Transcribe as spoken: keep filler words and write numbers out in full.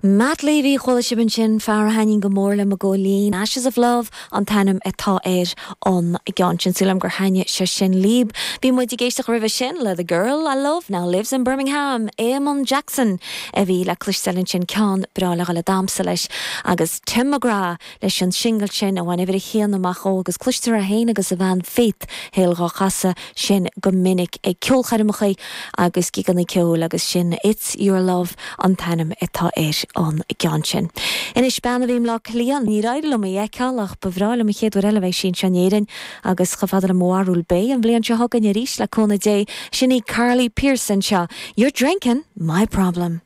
Matt Levy chuala sibh ansin fear a thaitníonn go mór liom i gcónaí Ashes of Love an t-ainm atá ar an gceann sin súil agam gur thaitin sé sin libh. Bhí muid ag éisteacht roimhe sin le The Girl I Love now lives in Birmingham, Eamon Jackson a bhí le cloisteáil ansin ceann breá le dhul ag damhsa leis agus Tim McGrath leis an single sin a bhain uimhir a haon amach ó agus cloistear é féin agus a bhean Faith Hill á chasadh sin go minic ag ceolchoirmeacha agus gigeanna ceoil agus sin It's Your Love an t-ainm atá ar an gceann sin. Anois bean a bhí i mBleá Cliath níor éirigh liom í a fheiceáil ach ba bhreá liom an chéad uair eile bheidh sí anseo in Éirinn agus chomh fada le mo bharúil beidh an bhliain seo chugainn arís le cúnamh Dé sin í Carly Pearson seo. You're drinking my problem.